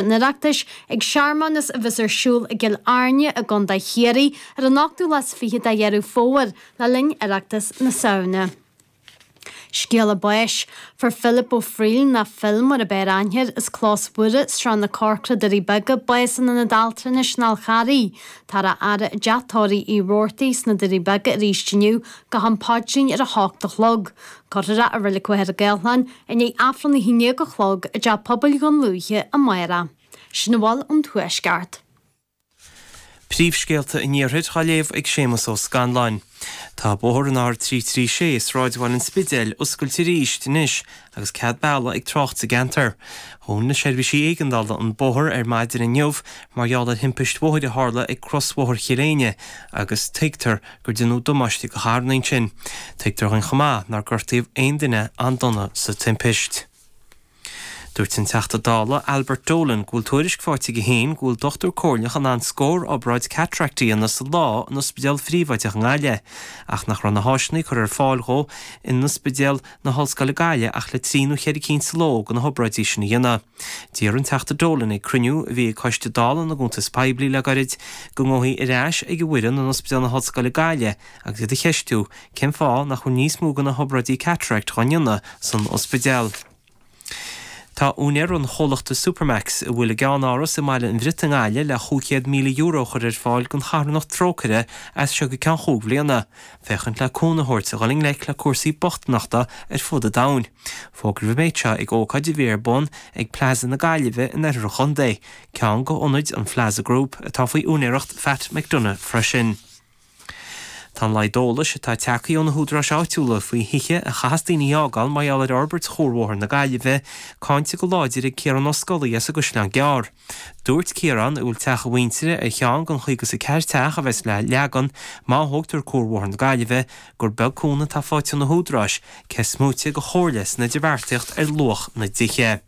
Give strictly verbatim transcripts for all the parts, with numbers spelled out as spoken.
an Oireachtais ag searmanas a bheas ar siúl i gCill Airne i gContae Chiarraí ar an ochtú lá is fiche de Dheireadh Fómhair le linn Oireachtas na Samhna. Scéala báis, Fuair Philip Ó Frighil, nó Phil mar ab fhearr aithne air, as Clós Mhuire, Srath na Corcra, Doirí Beaga, bás in Ionad Altranais an Fháil Charraigh. Táthar á fhaire i dteach tórraimh Uí Robhartaigh sna Doirí Beaga arís inniu go ham paidrín ar a hocht a chlog. Cuirfear é i Reilig Mhachaire Gathlán i ndiaidh Aifreann a haon déag a chlog i dTeach Pobail Dhún Lúiche amárach. Sin a bhfuil ón Tuaisceart. Príomhscéalta an Iarthair á léamh ag Séamus Ó Scanláin. Tá bóthar an R trí trí sé i sráidbhaile an Spidéil oscailte arís anois agus cead bealaigh ag trácht sa gceantar. Dhún na seirbhísí éigeandála an bóthar ar maidin inniu mar gheall ar thimpist bhóthair a tharla ag crosbhóthar Chill Éinne agus tuigtear gur deineadh damáiste do charranna ansin. Tuigtear dhúinn chomh maith nár gortaíodh aon duine an-dona sa timpist. Dúirt an Teachta Dála Albert Dolan go bhfuil tuairisc faighte aige féin go bhfuil dochtúir comhairleach in ann scór obráid cataract a dhéanamh sa lá in ospidéal phríobháideach i nGaillimh, ach nach raibh na háiseanna curtha ar fáil dhó in Ospidéal na hOllscoile Gaillimh ach le trí nó cheithre cinn sa ló de na hobráidí sin a dhéanamh. D'iarr an Teachta Dolan ag cruinniú a bhí ag Coiste Dála na gCuntas Poiblí le gairid go ngabhfaí ar ais ag an bhfoireann in Ospidéal na hOllscoile Gaillimh agus iad a cheistiú cén fáth nach bhfuil níos mó de na hobráidí cataract á ndéanamh san ospidéal. Tá úinéir an chomhlachta Supermac's, a bhfuil a gceannáras i mBaile an Bhriotaigh i nGaillimh, le chúig chéad míle euro a chur ar fáil don charthanacht Trócaire as seo go ceann chúig bhliana, féachaint le cúnamh a thabhairt a dhul i ngleic le cúrsaí bochtaineachta ar fud an domhain. Fógraíodh an méid seo ag ócáid a bhí ar bun ag Plaza na Gaillimhe in oirthear an chontae, ceann de ionaid an Phlaza Group atá faoi úinéireacht Phat McDonagh freisin. Tá an laghad eolais atá tagtha ó na húdaráis áitiúla faoi thithe a chaithfeas daoine a fhágáil mar gheall ar fhorbairt Chuarbhóthar na Gaillimhe cáinte go láidir ag Ciarán Ó Scolaí as an gCaisleán Gearr. Dúirt Ciarán, a bhfuil teach a mhuintire ar cheann den chaoga is a ceathair teach a bheas le leagan má thógtar Cuarbhóthar na Gaillimhe, gur beag cúnamh atá faighte ó na húdaráis, cé is móite de chomhairle san idirbheartaíocht ar luach na dtithe.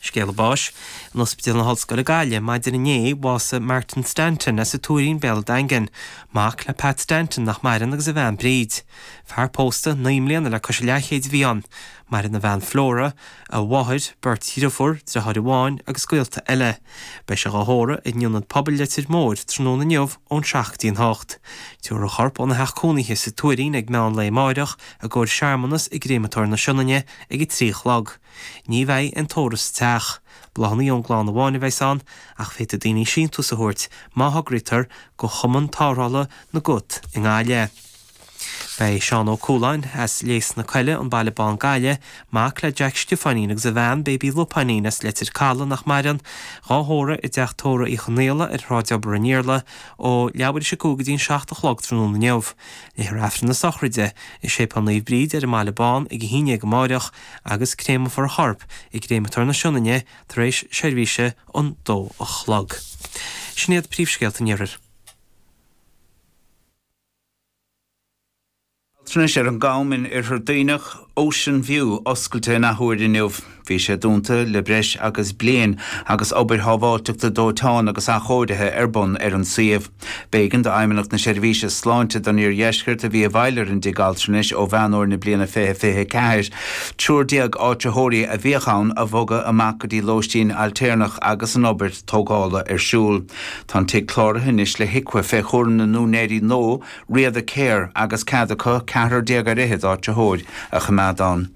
Scéala báis, In Ospidéal na hOllscoile Gaillimh maidin inné, bhásaigh Martin Stanton as an Tuairín, Béal an Daingin, mac le Pat Stanton nach maireann agus a bhean Bríd. Fear pósta naoi mbliana le cois a leathchéid a bhí ann. Maireann a bhean Flora, a mháthair, beirt dhriofúr, driotháir amháin agus gaolta eile. Beidh sé dhá thórramh in Ionad Pobail Leitir Móir tráthnóna inniu ón seacht go dtí an hocht. Tabharfar a chorp óna theach cónaithe sa Tuairín ag meán lae amáireach i gcomhair searmanas i gCréamatóir na Sionainne ag a trí a chlog. Ní bheidh aon tórramh sa teach. Bláthanna ón gclann amháin a bheas ann, ach féadfaidh daoine síntiús a thabhairt má thograítear go Chumann Tarrthála na gCat i nGaillimh. Beidh Seán Ó Cualáin, as Léas na Coille, An Baile Bán, Gaillimh, mac le Jack Stiofáinín agus a bhean, Baby Lupáinín, as Leitir Caladh, nach maireann, dhá thórramh i dteach tórraimh Uí Chonaola ar Shráid Obar an Iarla, ó leathuair tar éis a cúig go dtí an seacht a chlog tráthnóna inniu. Léifear Aifreann na sochraide i Séipéal Naomh Bríd ar an mBaile Bán ag a haon déag amáireach agus créamfar a chorp i gCréamatóir na Sionainne tar éis seirbhíse an dó a chlog. Sin iad príomhscéalta an Iarthair. Altranais ar an gCam in Oirthear Duibhneach, Ocean View, oscailte in athuair inniu. Bhí sé dúnta le breis agus bliain agus obair shábháilteachta dóiteáin agus athchóirithe ar bun ar an suíomh. B'éigean d'Fheidhmeannacht na Seirbhíse Sláinte don Iardheisceart, a bhí i bhfeighil ar an dtigh altranais ó Mheán Fhómhair na bliana fiche fiche a ceathair, triúr déag áitritheoirí a bhíodh ann a bhogadh amach go dtí lóistín ailtéarnach agus an obair tógála ar siúl. Tá an tigh cláraithe anois le HIQA fé chúram na n-úinéirí nua, Riada Care, agus cead acu ceathrar déag ar fhichead áitritheoir a choimeád ann.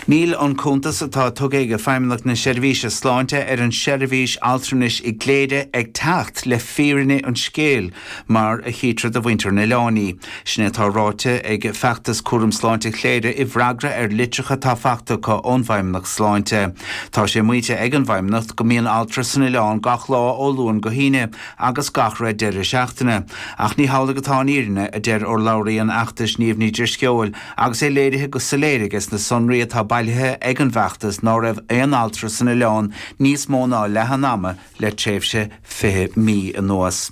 Níl an cuntas atá tugtha ag Feidhmeannacht na Seirbhíse Sláinte ar an seirbhís altranais i gCléire ag teacht le fírinne an scéil mar a chítear do mhuintir an oileáin í. Sin é atá ráite ag Feachtas Cúram Sláinte Chléire i bhfreagra ar litreacha atá faighte acu ón bhFeidhmeannacht Sláinte. Tá sé maíte ag an bhFeidhmeannacht go mbíonn altra san oileán gach lá ó Luan go hAoine agus gach re deireadh seachtaine. Ach ní hamhlaidh atá an fhírinne, a deir urlabhraí an fheachtais Niamh Ní Drisceoil, Agus é léirithe go soiléir aige sna sonraí atá bailithe ag an bhfeachtas ná raibh aon altra san oileán níos mó ná leath an ama le tréimhse fiche mí anuas.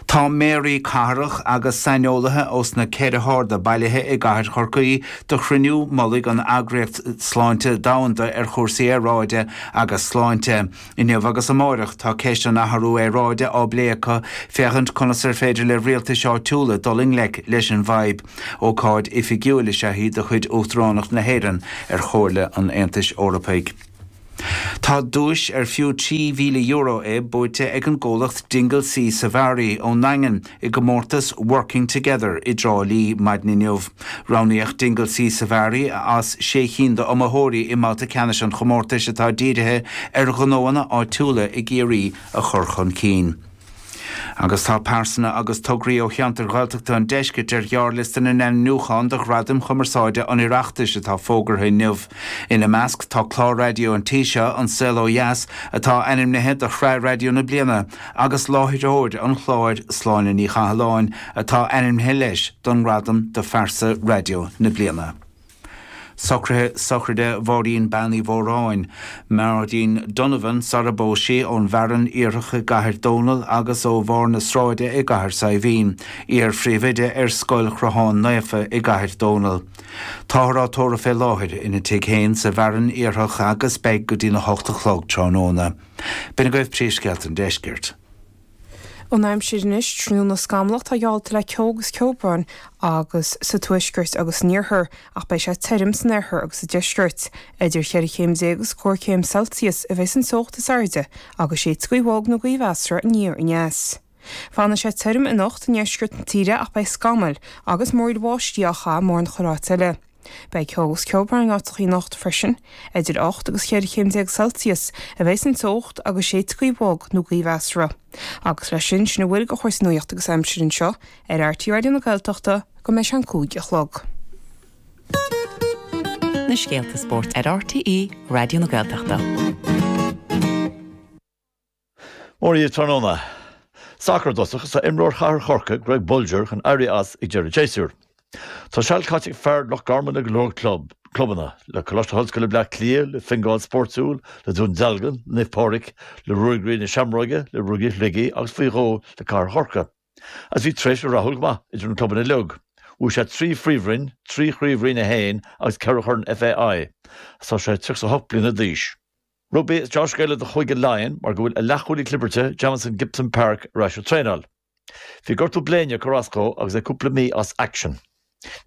Tá méaraí cathrach agus saineolaithe ós na ceithre harda bailithe i gcathair Chorcaí do chruinniú mullaigh an Eagraíocht Sláinte Domhanda ar chúrsaí aeráide agus sláinte. Inniu agus amáireach tá ceist an athrú aeráide á bplé acu féachaint conas ar féidir le rialtais áitiúla dul i ngleic leis an bhfadhb. Ócáid oifigiúil is ea í de chuid Uachtaránacht na hÉireann ar Chomhairle an Aontais Eorpaigh. Tá duais ar fiú trí mhíle euro é buaite ag an gcomhlacht Dingle Sea Safari ón nDaingean i gcomórtas Working Together i dTrá Lí maidin inniu. Roghnaíodh Dingle Sea Safari as sé cinn d'iomaitheoirí i mbabhta ceannais an chomórtais atá dírithe ar ghnóanna áitiúla i gCiarraí a chur chun cinn. Agus tá pearsana agus tograí ó cheantair Ghaeltachta an deiscirt ar ghearrliosta na n-ainmniúchán do Ghradaim Chumarsáide an Oireachtais atá fógartha inniu. Ina measc tá clár raidió an tí seo, An Saol Ó Dheas, atá ainmnithe do Shraith Raidió na Bliana, agus láithreoir an chláir, Sláine Ní Chathalláin, atá ainmnithe leis don ngradam do Phearsa Raidió na Bliana. Socruithe sochraide Mháirín Bean Uí Mhóráin, Máirín Donovan sara bpós sí, ón bhFearann Iarthach i gCathair Dónall agus ó Bharr na Sráide i gCathair Saidhbhín, iar-phríomhoide ar Scoil Chrotháin Naofa i gCathair Dónall. Táthar á tórramh fé láthair ina tigh féin sa bhFearann Iarthach agus beidh go dtína hocht a chlog tráthnóna. B'in agaibh príomhscéalta an deiscirt. An aimsir anois, tráthnóna scamallach atá geallta le ceo agus ceobhrán agus sa tuaisceart agus san iarthar ach beidh sé tirim san oirthear agus sa deisceart. Idir cheithre chéim déag agus cúig chéim Celsius a bheidh an teocht is airde agus séidfidh gaoth bhog nó gaoth mheasartha aniar aneas. Fanfaidh sé tirim anocht i ndeisceart na tíre ach beidh scamaill agus múraíl bháistí á chaitheamh mórán chuile áit eile. Beidh ceo agus ceobhrán in áiteachaí anocht freisin. Idir ocht agus cheithre chéim déag Celsius a bheidh an teocht agus séidfidh gaoth bhog nó gaoth mheasartha. Agus leis sin, sin a bhfuil de chúrsaí nuachta agus aimsire anseo ar RTÉ Raidió na Gaeltachta go mbeidh sé an cúig a chlog. Na scéalta spóirt ar RTÉ Raidió na Gaeltachta. Mora daoibh tráthnóna. Sacar i dtosach is tá imreoir Chathair Chorcaí, Greg Bolger, chun éirí as ag deireadh an tséasúir. Tá seal caite ag fear Loch Garman le go leor club, clubanna, le Coláiste na hOllscoile Bleá Cliath, le Fingal Spórtúil, le Dún Dealgan, le Naomh Pádraig, le Ruagairí na Seamróige, le Ruagairí Shligigh agus faoi dhó le Cathair Chorcaí. Agus bhí tréimhse rathúil go maith idir na clubanna uilig. Bhuaigh sé trí phríomhroinn, trí chraobh Roinn a haon agus ceithre chorn FAI. Agus tá sé tríocha a hocht bliana d'aois. Rugbaí is deá-scéala do Chúige Laighean mar go bhfuil a leathchúlaí clibirte, Jamison Gibson-Park, ar ais ag traenáil. Bhí gortú bléine ag cur as dó agus é cúpla mí as aicsean.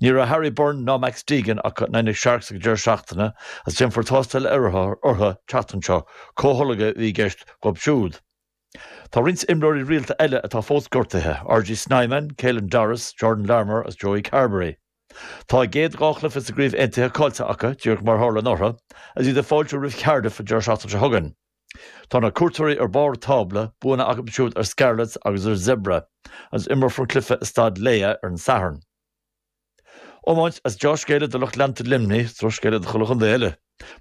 Ní raibh Harry Byrne ná Max Deegan acu in aghaidh na Sharks ag an deireadh seachtaine agus déanfar tástáil orthu an tseachtain seo, comhtholgadh a bhí i gceist dhóibh siúd. Tá roinnt imreoirí rialta eile atá fós gortaithe, RG Snyman, Caelan Doris, Jordan Larmour agus Joey Carbery. Tá a gcéad dhá chluiche sa gCraobh Aontaithe caillte acu, díreach mar a tharla anuraidh, agus iad ag fáiltiú roimh Cardiff an deireadh seachtaine seo chugainn. Tá na cuairteoirí ar barr an tábla, buanna acu siúd ar Scarlets agus ar Zebre, agus imreofar an cluiche i Staid Laya ar an Satharn. Iomáint is deá-scéala do lucht leanta Luimnigh, is drochscéala do chuile chontae eile,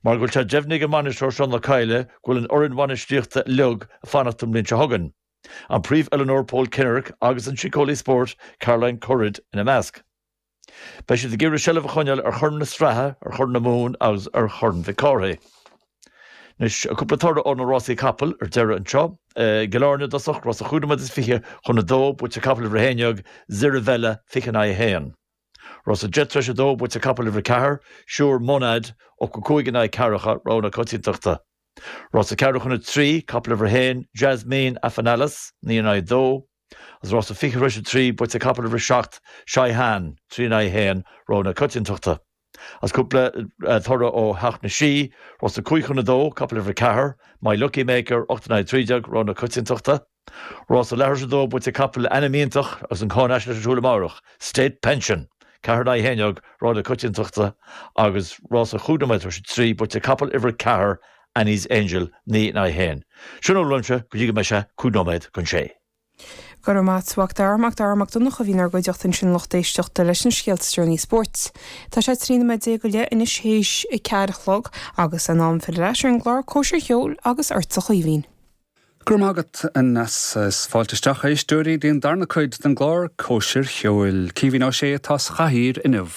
mar go bhfuil sé deimhnithe ag an mbainisteoir Seán Ó Cadhla go bhfuil an fhoireann bhainistíochta uilig ag fanacht don mbliain seo chugainn, an príomh-oiliúnóir Paul Kinnerk agus an síceolaí spóirt Caroline Currid ina measc. Beidh siad ag iarraidh seilbh a choinneáil ar Chorn na Sraithe, ar Chorn na Mumhan agus ar Chorn Mhic Cárthaigh. Anois, cúpla toradh ó na rásaí capall ar deireadh anseo. I gCill Airne i dtosach, rás a chúig nóiméad is fiche chun a dó, buaite ag capall uimhir a haon déag, Zirivella, fiche in aghaidh a haon. Rás a deich tar éis a dó, buaite ag capall uimhir a ceathair, Sure Monad, ochtó cúig in aghaidh ceathracha, rogha na coitiantachta. Rás a ceathrú chun a trí, capall uimhir a haon, Jasmine Afanalis, naoi in aghaidh a dó. Agus rás a fiche tar éis a trí, buaite ag capall uimhir a seacht, Shaihan, trí in aghaidh a haon, rogha na coitiantachta. Agus cúpla toradh ó Theach na Sí, rás a cúig chun a dó, capall uimhir a ceathair, My Lucky Maker, ocht in aghaidh a trí déag, rogha na coitiantachta. Rás a leathuair tar éis a dó, buaite ag capall le ainm iontach agus an cháinaisnéis ar siúl amárach, State Pension, ceathair in aghaidh a haon déag, rogha na coitiantachta, agus rás a chúig nóiméad tar éis a trí, buaite ag capall uimhir a ceathair, Annie's Angel, naoi in aghaidh a haon. Sin a bhfuil uaimse go dtí go mbeidh sé cúig nóiméad chun sé. Go raibh maith agat, a Mhac Dara. Mac Dara Mac Donncha a bhí inár gcuideachta ansin lucht éisteachta leis na scéalta is deireanaí spóirt. Tá sé trí nóiméad déag go leith anois théis a ceathair a chlog agus in am filleadh ar ais ar an gclár Cóisir Cheoil agus ortsa a Chaoimhín. Go raibh maith agat, a Neasa. Is fáilte isteach a éisteoirí dtí an darna cuid den gclár Cóisir Cheoil. Caoimhín Ó Sé atá sa chathaoir inniu.